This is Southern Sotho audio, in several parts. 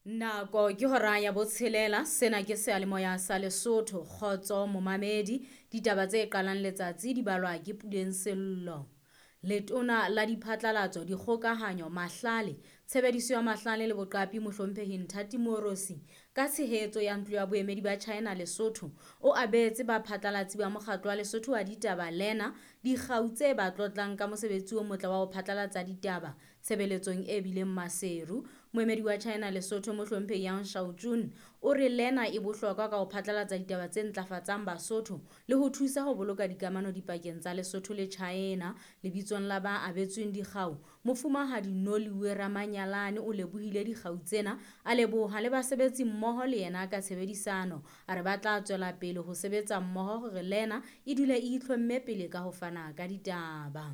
Nako ke hora ya botshelela, sena ke seyalemoya sa Lesotho, kgotso momamedi. Ditaba tse qalang letsatsi di balwa ke Puleng Sello. Letona la diphatlalatso, dikgokahanyo, mahlale, tshebediso ya mahlale le boqapi Mohlomphehi Nthati Moorosi ka tshehetso ya ntlo ya boemedi ba China Lesotho o abetse baphatlalatsi ba mokgatlo wa Lesotho wa ditaba Lena dikgau tse ba tlotlang ka mosebetsi o motle wa ho phatlalatsa ditaba tshebeletsong e bileng Maseru. Moemedi wa China Lesotho Mohlomphehi Yang Shaojun o re Lena e bohlokwa ka ho phatlalatsa ditaba tse ntlafatsang Basotho le ho thusa ho boloka dikamano dipakeng tsa Lesotho le China. Lebitsong la ba abetsweng dikgau, Mofumahadi Noliwe Ramanyalane o lebohile dikgau tsena, a leboha le basebetsi mmoho le yena ka tshebedisano. A re ba tla tswela pele ho sebetsa mmoho hore Lena e dule e itlhomme pele ka ho fana ka ditaba.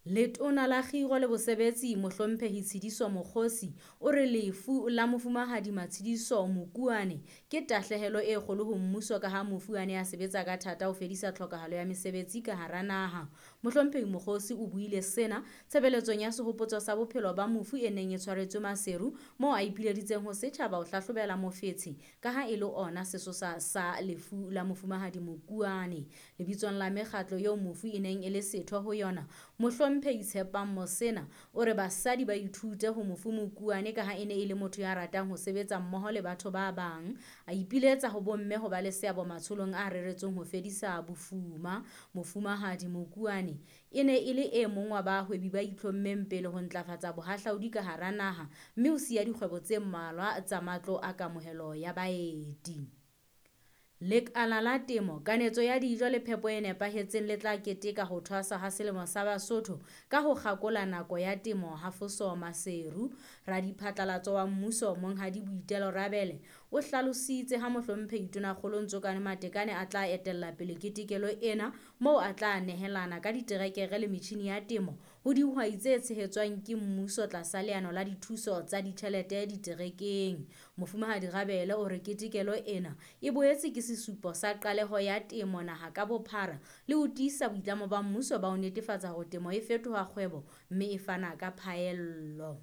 Letona la Kgiro le Bosebetsi Mohlomphehi Tshidiso Mokgosi o re lefu la Mofumahadi Matshidiso Mokuane ke tahlehelo e kgolo ho mmuso ka ha mofu a ne a sebetsa ka thata ho fedisa tlhokahalo ya mesebetsi ka hara naha. Mohlomphehi Mokgosi o buile sena tshebeletsong ya sehopotso sa bophelo ba mofu e neng e tshwaretswe Maseru moo a ipileditseng ho setjhaba ho hlahlobela mofetshe ka ha e le ona sesosa sa lefu la Mofumahadi Mokuane. Lebitsong la mekgatlo eo mofu e neng e le setho ho yona, Mohlomphehi Tshepang Mosena o re basadi ba ithute ho mofu Mokuane ka ha e ne e le motho ya ratang ho sebetsa mmoho le batho ba bang. A ipiletsa ho bomme ho ba le seabo matsholong a reretsweng ho fedisa bofuma. Mofumahadi Mokuane e ne e le e mong wa bahwebi ba itlhommeng pele ho ntlafatsa bohahlaudi ka hara naha mme o siya dikgwebo tse mmalwa tsa matlo a kamohelo ya baeti. Lekala la temo, kanetso ya dijo le phepo e nepahetseng le tla keteka ho thwasa ha selemo sa Basotho ka ho kgakola nako ya temo ha Foso Maseru. Radiphatlalatso wa mmuso Monghadi Boitelo Rabele o hlalositse ha Mohlomphehi Tonakgolo Ntsokane Matekane a tla etella pele ketekelo ena moo a tla nehelana ka diterekere le metjhini ya temo ho dihwai tse tshehetswang ke mmuso tlasa leano la dithuso tsa ditjhelete diterekeng. Mofumahadi Rabele o re ketekelo ena e boetse ke sesupo sa qaleho ya temo naha ka bophara le ho tiisa boitlamo ba mmuso ba ho netefatsa hore temo e fetoha kgwebo mme e fana ka phaello.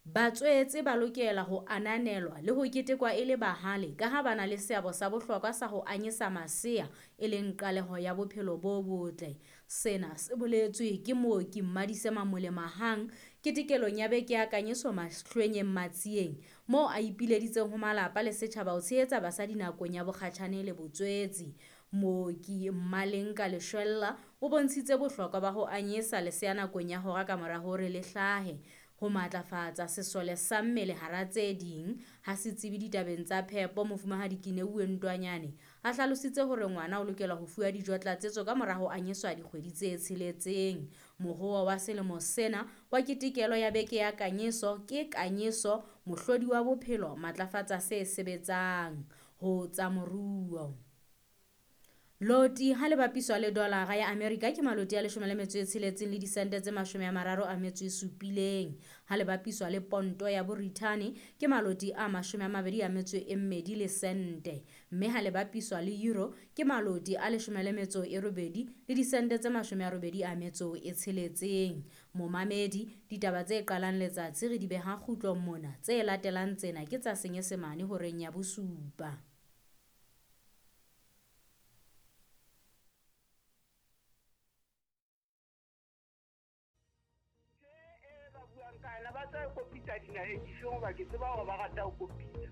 Batswetse ba lokela ho ananelwa le ho ketekwa e le bahale ka ha ba na le seabo sa bohlokwa sa ho anyesa masea e leng qaleho ya bophelo bo botle. Sena se boletswe ke mooki Mmadise Mamole Mahang ketekelong ya beke ya kanyeso Mahlwenyeng Matsieng moo a ipileditseng ho malapa le setjhaba ho tshehetsa basadi nakong ya bokgatjhane le botswetsi. Mooki Mmalenka Leshwella o bontshitse bohlokwa ba ho anyesa lesea nakong ya hora ka mora hore le hlahe, ho matlafatsa sesole sa mmele hara tse ding. Ha setsebi ditabeng tsa phepo Mofumahadi Kineuwe Ntwanyane a hlalositse hore ngwana o lokela ho fuwa dijo tlatsetso ka mora ho anyeswa dikgwedi tse tsheletseng. Mohoa wa selemo sena wa ketekelo ya beke ya kanyeso ke kanyeso mohlodi wa bophelo, matlafatsa se sebetsang ho tsa moruo. Loti ha le bapiswa le dolara ya Amerika ke maloti a 16 le disente tse 37. Ha le bapiswa le ponto ya Borithane ke maloti a 22 le sente. Mme ha le bapiswa le euro ke maloti a 18 le disente tse 86. Momamedi, ditaba tse qalang letsatsi re di beha kgutlong mona, tse latelang tsena ke tsa Senyesemane horeng ya bosupa. Ba tla kopitsa dinaheng difeng hoba ke tseba hore ba rata ho kopitsa.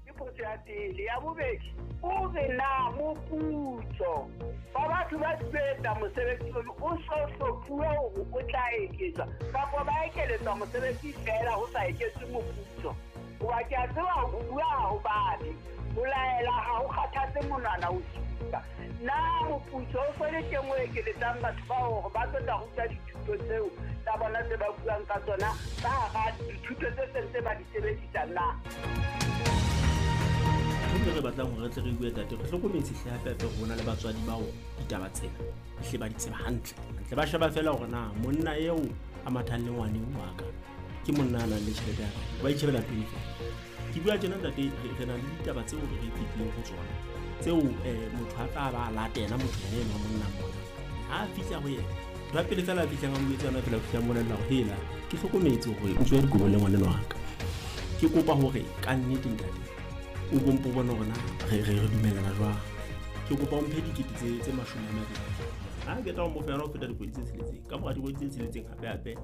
Ke potso ya pele. Ya bobedi, o re na moputso ba batho ba sebetsa mosebetsi ono o so hlophuwe hore o tla eketswa kapa ba ekeletswa mosebetsi feela ho sa eketswe moputso? Hoba ke a tseba ho bua ha ho babe, ho laela ha ho kgathatse monwana ho supa. Na moputso o so le teng o ekeletsang batho bao hore ba tlo tla ruta dithuto tseo tsa bona tse ba buang ka tsona ka hara dithuto tse seng tse ba di sebedisang na? Ntho re batlang hore re tle re bue tate, re hlokometse hle hape hape hore hona le batswadi bao ditaba tsena hle ba di tseba hantle. Hantle ba sheba feela hore na monna eo a mathang le ngwane wa ka ke monna a nang le tjhelete ya kae, ba itjhebela pele feela. Ke bua tjena ntate, re na le ditaba tseo re fetileng ho tsona tseo motho a tla ba latela motho ena wa monna mona. Ha a fihla ho yena, ntho ya pele feela a fihlang a mo etsa yona fela, o fihla a mmolella hore hela ke hlokometse hore o tswe dikobo le ngwaneno wa ka. Ke Ke kopa hore ka nnete ntate o bompo bone hore na re dumellana jwang. Ke kopa o mphe dikete tse 20. Ha ke tla o mo fa yona ho feta dikgwedi tse 6. Ka mora dikgwedi tse 6 hape hape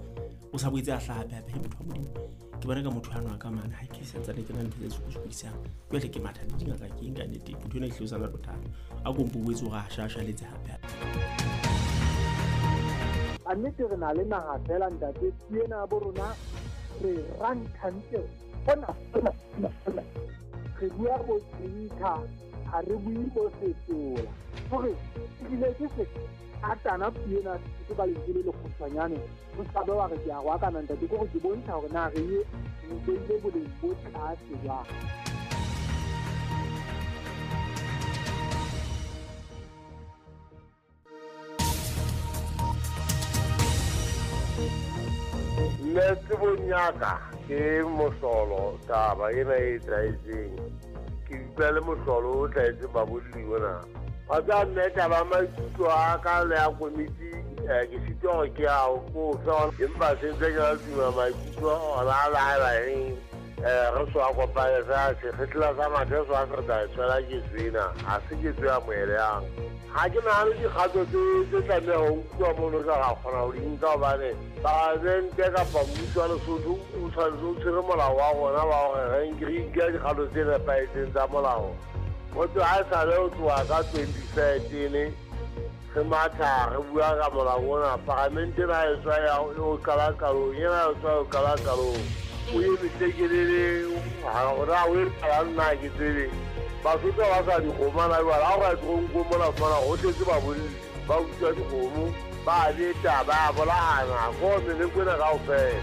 o sa boetse a hlaha hape hape motho wa Modimo. Ke bona ka motho ano a ka mane ha ke santsane ke na ntho tse sokodisang. Jwale ke matha le dingaka ke eng ka nnete motho ena e hlile o sa na le bothata. A kompo boetse hore a shashaletse hape hape. A nnete re na le naha fela ntate, ena bo rona re ranthantle hona hona hona. Re bua bo tsinka, ha re bue bo setola. Hore ebile ke se atana puo ke ka lentswe le lekgutshwanyane, o ska be wa re ke a roakana ntate, ke hore ke bontsha hore na re ye beile boleng bo tlase jwang. Nna tsebong ya ka ke mohlolo taba ena e etsahetseng. Ke utlwa le mohlolo o tlwaetseng babolli ona. Wa tseba mme taba maikutlo a ka le ya komiti ke sitwa hore ke a ko fe, empa se ntse ke na le tumelo maikutlo ona a laela eng re so a kopane fela sekgehla sa mathe so a se re tla e tshwela ketso ena, ha se ketso e amohelehang. Ha ke nahane dikgato tse tlameha ho nkuwa mono ka ra kgona ho di nka hobane palamente kapa mmuso wa Lesotho o tshwanetse o tshwere molao wa rona wa hore re nke dikgato tse nepahetseng tsa molao. Motho ha esale ho tloha ka 2013 re matha re bua ka molao ona, palamente ena e tswa ya o qala qalong, ena e tswa o qala qalong. O eme tlekelele, hore o e qala nna ke tsebe. Basotho ba sa dikgomo na jwale, ha o ka toronkong mona fumana ho tletse babolli, ba utswa dikgomo, ba beta, ba bolayana, ko meleko ena kaofela.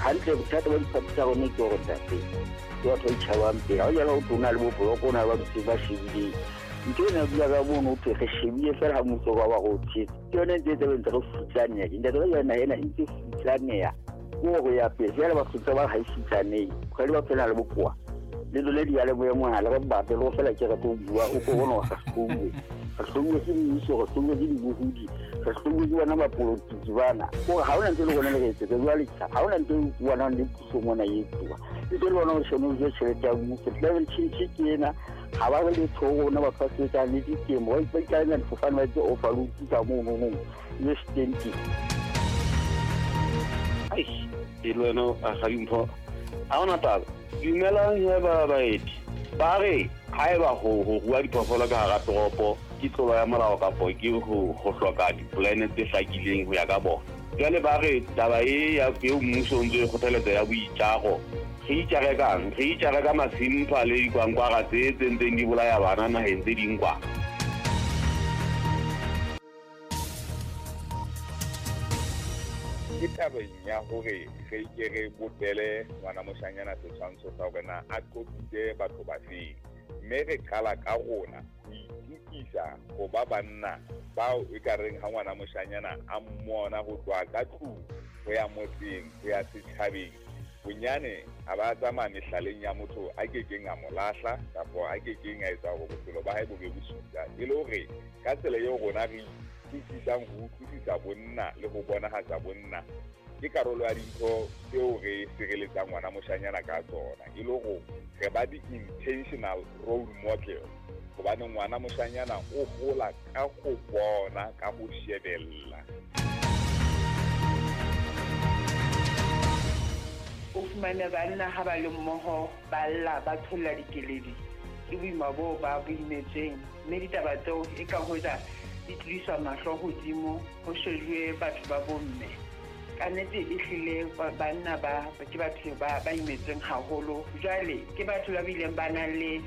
Hantle bothata ba diphathi tsa rona ke hore ntate, ke batho ba itjhabang pele. Ha o jala ho tlo na le boboloko, o na le ba dutseng ba shebileng. Ntho ena e bua ka mono ho thwe re shebile fela ha mmuso wa ba re o tshetse. Ke yona e ntse e tse ntse re futsaneha. Ntate ba jala naha ena e ntse e futsaneha. Ke hore ya pele jwale Basotho ba ha e futsanehe. Kgwedi ba phela le bokowa. Le lole diyalemoya mona le re batle le go fela ke re tlo bua o ko bona re hlouwe. Re hlouwe ke mmuso, re hlouwe ke dibohodi, re hlouwe ke bona bapolotiki bana. Kore ha hona ntho e le rona le re etsetsa jwale tjha, ha hona ntho e bonang le puso mona e etsuwa. E tse le bona o shone o je tjhelete ya mmuso. Climate change ke ena, ha ba re letho ho rona batho ba sebetsang le ditemo, ba ikalella difofane ba etse overload ka mono no, le stenti. Eish, e le wena a ga dimpho. Ha hona taba. Dumelang he ba baeti. Ba re haeba ho rua diphoofolo ka hara toropo ke tlolo ya molao kapo ke ho hloka dipolane tse hlakileng ho ya ka bona. Jwale ba re taba e ya eo mmuso o ntse o kgothaletsa ya boitjaro. Re itjare kang? Re itjare ka masimpha le dikwankwara tse ntseng di bolaya bana naheng tse ding kwa. Ke tabeng ya hore re ke re bopele ngwana moshanyana setshwantsho sa hore na a qopitse batho ba feng, mme re qala ka rona ho itukisa ho ba banna bao e ka reng ha ngwana moshanyana a mmona ho tloha ka tlung ho ya motseng ho ya setjhabeng, bonyane a ba tsamaya mehlaleng ya motho a kekeng a mo lahla kapa a kekeng a etsa hore bophelo ba hae bo be bosula, e le hore ka tsela eo rona re utlwisisang ho utlwisisa bonna le ho bonahatsa bonna ke karolo ya dintho tseo re sireletsang ngwana moshanyana ka tsona, e le hore re ba di-intentional role model, hobane ngwana moshanyana o hola ka ho bona, ka ho shebella. O fumane banna ha ba le mmoho ba lla ba tsholla dikeledi, ke boima boo ba bo imetsweng, mme ditaba tseo e ka hoja di tlodiswa mahlo hodimo ho shejuwe batho ba bomme. Ka nnete e hlile banna ba ke batho ba imetsweng haholo. Jwale ke batho ba bileng ba nang le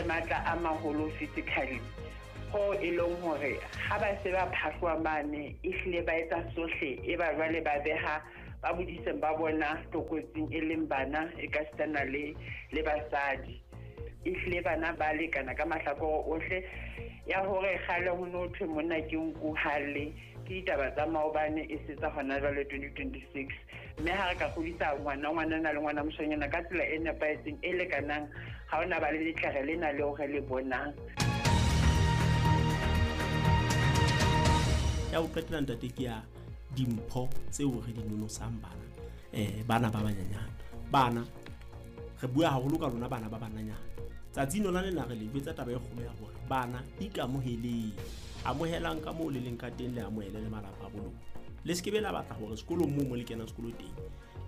matla a maholo physically, ho e leng hore ha ba se ba phahloa mane e hlile ba etsa sohle, e ba jwale ba beha ba bodiseng ba bona tlokotsing e leng bana e ka sitana le basadi. E hlile bana ba lekana ka mahlakore ohle. Ya hore kgale ho no thwe monna ke nku hale, ke ditaba tsa maobane e se tsa hona jwale 2026. Mme ha re ka kgodisa ngwana ngwanana le ngwana moshanyana ka tsela e nepahetseng e lekanang, ha hona ba le letlere lena leo re le bonang. Ya ho qetela ntate ke ya dimpho tseo re di nonosang bana, bana ba banyenyane. Bana re bua haholo ka lona bana ba bananyana. Tsatsing lona lena re le jwetsa taba e kgolo ya hore bana ikamoheleng, amohelang ka moo le leng ka teng, le amohele le malapa a bo lona. Le se ke be la batla hore sekolong moo mo le kenang sekolo teng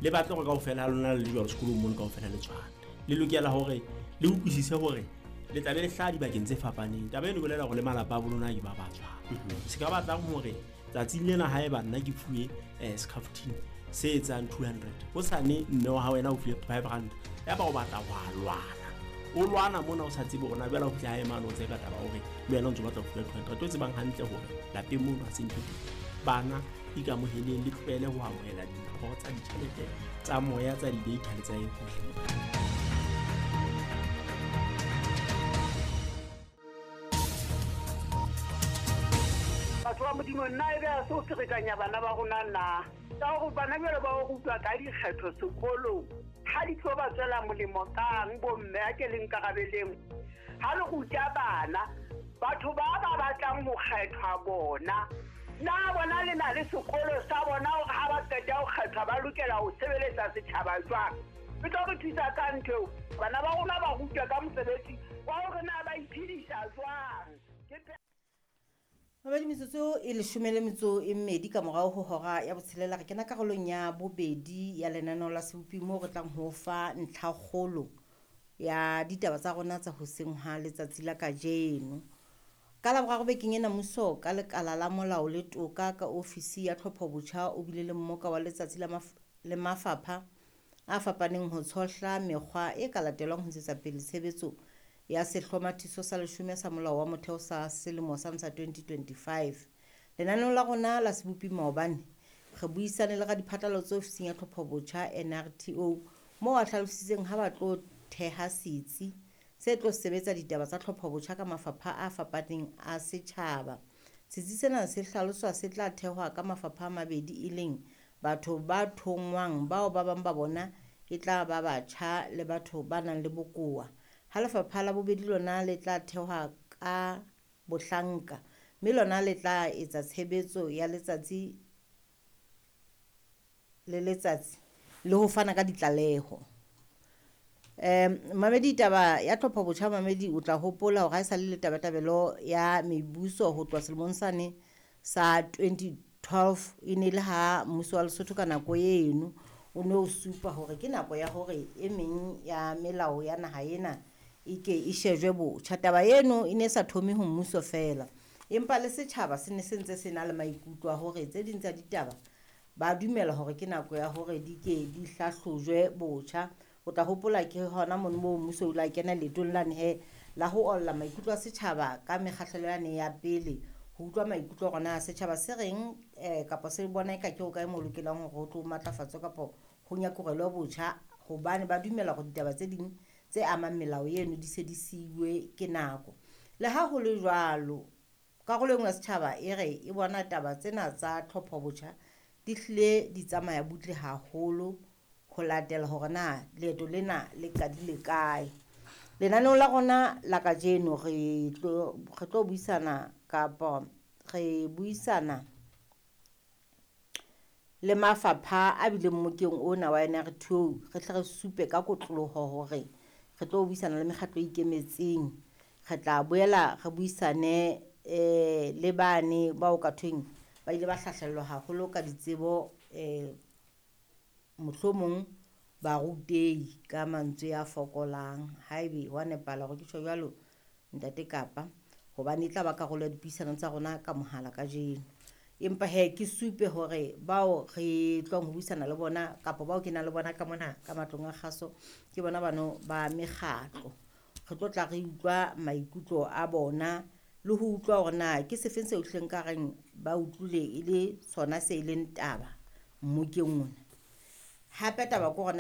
le batle hore kaofela ha lona le le jwalo sekolong mono kaofela le tshwane. Le lokela hore le utlwisise hore le tla be le hlaha dibakeng tse fapaneng. Taba eno e bolela hore le malapa a bo lona ke ba ba tshwana. Se ka batlang hore tsatsing lena haeba nna ke fuwe scaftine se etsang 200, hosane mme wa hao wena o fuwe 500, yaba o batla ho a lwana, o lwana mona o sa tsebe hore na jwale o fihla hae mane o tseka taba hore le wena o ntso batla ho fuwa 200, o tsebang hantle hore lapeng mono ha se ntho teng. Bana ikamoheleng, le tlohele ho amohela dimpho tsa ditjhelete tsa moya, tsa di-data le tsa eng hohle. Batho ba Modimo, nna e be a se o ferekanya bana ba rona na? Ka hore bana jwale ba o rutwa ka dikgetho sekolong, ha di tlo ba tswela molemo kang bomme a ke le nkarabeleng? Ha le ruta bana, batho ba ba batlang ho kgethwa bona, na bona le na le sekolo sa bona hore ha ba qeta ho kgethwa ba lokela ho sebeletsa setjhaba jwang? E tlo re thusa ka ntho eo. Bana ba rona ba rutwa ka mosebetsi wa hore na ba iphedisa jwang. Mabedi metsotso e 12 ka morao ho hora ya botshelela, re kena karolong ya bobedi ya lenaneo la Sebopi moo re tlang ho fa ntlhakgolo ya ditaba tsa rona tsa hoseng ha letsatsi la kajeno. Ka Laboraro bekeng ena, mmuso ka lekala la molao le toka ka ofisi ya tlhophobotjha o bile le mmoka wa letsatsi le mafapha a fapaneng ho tshohla mekgwa e ka latelwang ho ntshetsa pele tshebetso ya sehlomathiso sa 10 sa molao wa motheo sa selemo sa 2025. Lenaneong la rona la Sebopi maobane re buisane le radiphatlalatso ofising ya tlhophobotjha NRTO moo a hlalositseng ha ba tlo theha setsi se tlo sebetsa ditaba tsa tlhophobotjha ka mafapha a fapaneng a setjhaba. Setsi sena se hlaloswa se tla thehwa ka mafapha a mabedi, e leng batho ba thongwang bao ba bang ba bona e tla ba batjha le batho ba nang le bokowa. Ha lefapha la bobedi lona le tla thehwa ka bohlanka, mme lona le tla etsa tshebetso ya letsatsi le letsatsi le ho fana ka ditlaleho. Mamedi, taba ya tlhophobotjha mamedi, o tla hopola hore ha e sa le tabatabelo ya mebuso ho tloha selemong sane sa 2012, e ne le ha mmuso wa Lesotho ka nako eno o ne o supa hore ke nako ya hore e meng ya melao ya naha ena e ke e shejwe botjha. Taba eno e ne sa thome ho mmuso feela, empa le setjhaba se ne se ntse se na le maikutlo a hore tse ding tsa ditaba ba dumela hore ke nako ya hore di ke di hlahlojwe botjha. O tla hopola ke hona mono moo mmuso o la kena leetong lane he la ho olla maikutlo a setjhaba ka mekgahlelo yane ya pele, ho utlwa maikutlo a rona setjhaba se reng kapa se bona eka ke ho kae mo lokelang hore ho tlo matlafatswa kapa ho nyakurelwa botjha, hobane ba dumela hore ditaba tse ding tse amang melao eno di se di siuwe ke nako. Le ha ho le jwalo, karolo e nngwe ya setjhaba e re e bona taba tsena tsa tlhophobotjha di hlile di tsamaya butle haholo ho latela hore na leeto lena le qadile kae. Lenaneong la rona la kajeno re tlo buisana kapa re buisana le mafapha a bileng mmokeng ona wa NRTO, re tle re supe ka kotloloho hore re tlo buisana le mekgatlo e ikemetseng. Re tla boela re buisane le bane bao ka thweng ba ile ba hlahlellwa haholo ka ditsebo, mohlomong barutehi ka mantswe a fokolang, haebe wa nepahala hore ke tjho jwalo ntate Kapa, hobane e tla ba karolo ya dipuisano tsa rona ka mohala kajeno. Empa he ke supe hore bao re tlong ho buisana le bona kapa bao ke nang le bona ka mona ka matlong a kgaso ke bona bano ba mekgatlo. Re tlo tla re utlwa maikutlo a bona le ho utlwa hore na ke sefeng seo hleng ka reng ba utlwile e le sona se e leng taba mmokeng ona. Hape taba ke hore